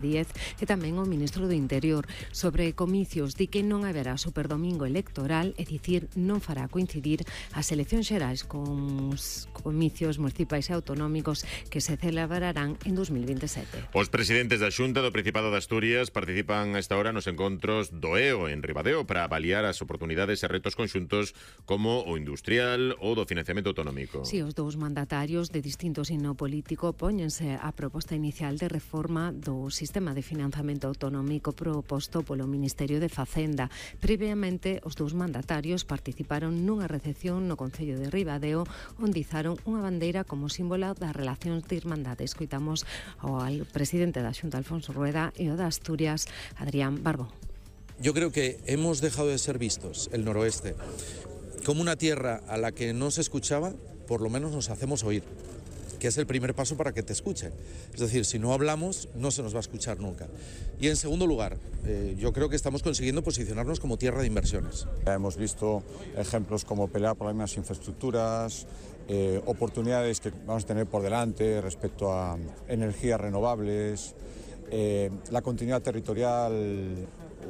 Díez e tamén o ministro do Interior. Sobre comicios, di que non haberá superdomingo electoral, é dicir, non fará coincidir as eleccións xerais con os comicios municipais e autonómicos que se celebrarán en 2027. Os presidentes da Xunta do Principado de Asturias participan a esta hora nos encontros do EO en Ribadeo para avaliar as oportunidades e retos conxuntos como o industrial ou do financiamento autonómico. Si, os dous mandatarios de distinto signo político póñense a proposta inicial de reforma do sistema de financiamento autonómico proposto polo Ministerio de Facenda. Previamente, os dous mandatarios participaron nunha recepción no Concello de Ribadeo onde izaron unha bandeira como símbolo das relacións de irmandade. Escoitamos ao presidente da Xunta, Alfonso Rueda, e o de Asturias, Adrián Barbón. Yo creo que hemos dejado de ser vistos, el noroeste, como una tierra a la que no se escuchaba, por lo menos nos hacemos oír, que es el primer paso para que te escuchen. Es decir, si no hablamos, no se nos va a escuchar nunca. Y en segundo lugar, yo creo que estamos consiguiendo posicionarnos como tierra de inversiones. Hemos visto ejemplos como pelear por las mismas infraestructuras, oportunidades que vamos a tener por delante respecto a energías renovables, la continuidad territorial,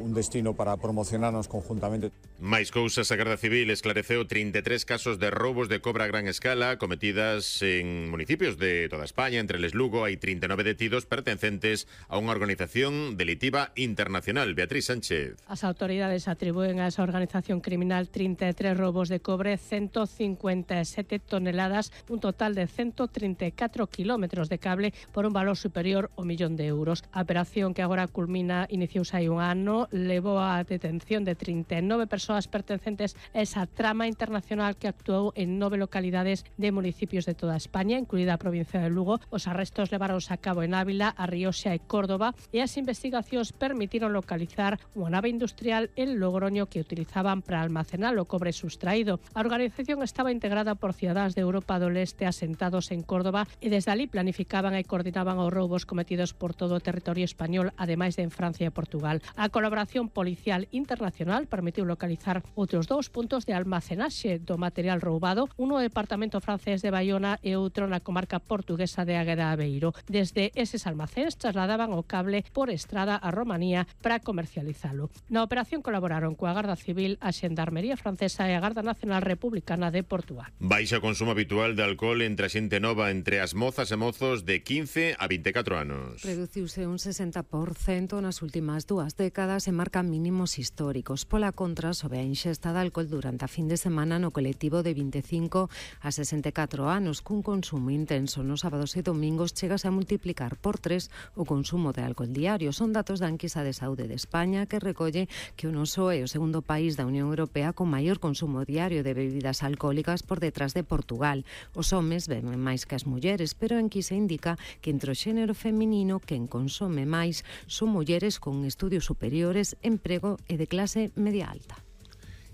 un destino para promocionarnos conjuntamente. Máis cousas, a Garda Civil esclareceu 33 casos de roubos de cobra a gran escala cometidas en municipios de toda España. Entre eles Lugo hai 39 detidos pertencentes a unha organización delictiva internacional. Beatriz Sánchez. As autoridades atribúen a esa organización criminal 33 roubos de cobre, 157 toneladas, un total de 134 kilómetros de cable por un valor superior ao €1.000.000. A operación, que agora culmina, iniciouse hai un ano, levou a detención de 39 persoas pertencentes a esa trama internacional que actuou en 9 localidades de municipios de toda España, incluída a provincia de Lugo. Os arrestos levaronse a cabo en Ávila, A Rioxa e Córdoba, e as investigacións permitiron localizar unha nave industrial en Logroño que utilizaban para almacenar o cobre sustraído. A organización estaba integrada por cidadáns de Europa do Leste asentados en Córdoba e desde ali planificaban e coordinaban os roubos cometidos por todo o territorio español, ademais de en Francia e Portugal. A colaboración policial internacional permitiu localizar outros 2 puntos de almacenaxe do material roubado, un no departamento francés de Baiona e outro na comarca portuguesa de Águeda Aveiro. Desde eses almacéns trasladaban o cable por estrada a Romanía para comercializalo. Na operación colaboraron coa Garda Civil, a Xendarmería francesa e a Garda Nacional Republicana de Portugal. Baixa o consumo habitual de alcohol entre a xente nova, entre as mozas e mozos de 15 a 24 anos. Reduciuse un 60% nas últimas 2 décadas e marca mínimos históricos. Pola contra, sobe a inxesta de alcohol durante a fin de semana no colectivo de 25 a 64 anos, cun consumo intenso nos sábados e domingos chegase a multiplicar por 3 o consumo de alcohol diario. Son datos da Enquisa de Saúde de España, que recolle que o noso é o segundo país da Unión Europea con maior consumo diario de bebidas alcohólicas por detrás de Portugal. Os homes beben máis que as mulleres, pero a Enquisa indica que entre o xénero feminino quen consome máis son mulleres con estudios superiores, emprego e de clase media alta.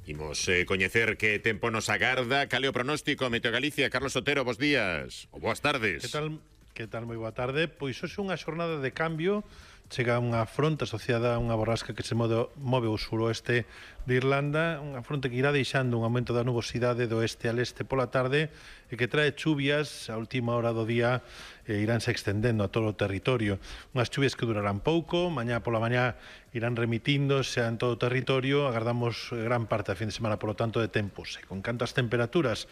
Imos coñecer que tempo nos agarda. Cal é o pronóstico Meteo Galicia? Carlos Otero, bos días ou boas tardes. Que tal? Moi boa tarde. Pois hoxe unha xornada de cambio. Chega unha fronte asociada a unha borrasca que se move ao suroeste de Irlanda, unha fronte que irá deixando un aumento da nubosidade do oeste al este pola tarde e que trae chuvias a última hora do día e iránse extendendo a todo o territorio. Unhas chuvias que durarán pouco, mañá pola mañá irán remitíndose en todo o territorio. Agardamos gran parte da fin de semana, polo tanto, de tempos. E con canto as temperaturas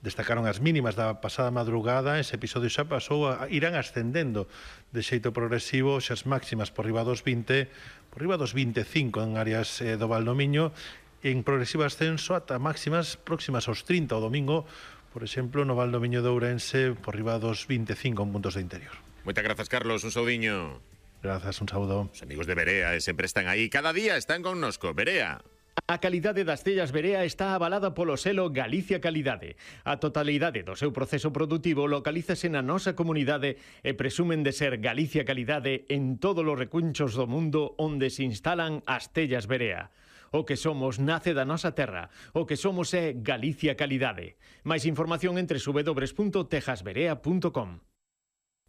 destacaron as mínimas da pasada madrugada, ese episodio xa pasou, irán ascendendo de xeito progresivo, xa as máximas por riba dos 20, por riba dos 25 en áreas do Valdomiño, en progresivo ascenso ata máximas próximas aos 30 o domingo, por exemplo, no Valdomiño de Ourense, por riba dos 25 en puntos do interior. Moitas grazas, Carlos, un saudiño. Grazas, un saúdo. Os amigos de Berea sempre están aí, cada día están connosco. Berea. A calidade das tellas Berea está avalada polo selo Galicia Calidade. A totalidade do seu proceso produtivo localízase na nosa comunidade e presumen de ser Galicia Calidade en todos os recunchos do mundo onde se instalan as tellas Berea. O que somos nace da nosa terra. O que somos é Galicia Calidade. Máis información entre www.tejasberea.com.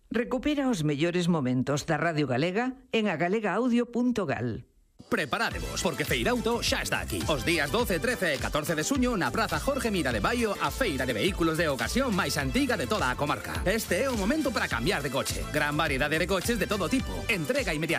Recupera os mellores momentos da Radio Galega en agalegaudio.gal. Preparádevos, porque Feirauto xa está aquí. Os días 12, 13 e 14 de suño na Praza Jorge Mira de Baio, a feira de vehículos de ocasión máis antiga de toda a comarca. Este é o momento para cambiar de coche. Gran variedade de coches de todo tipo. Entrega inmediata.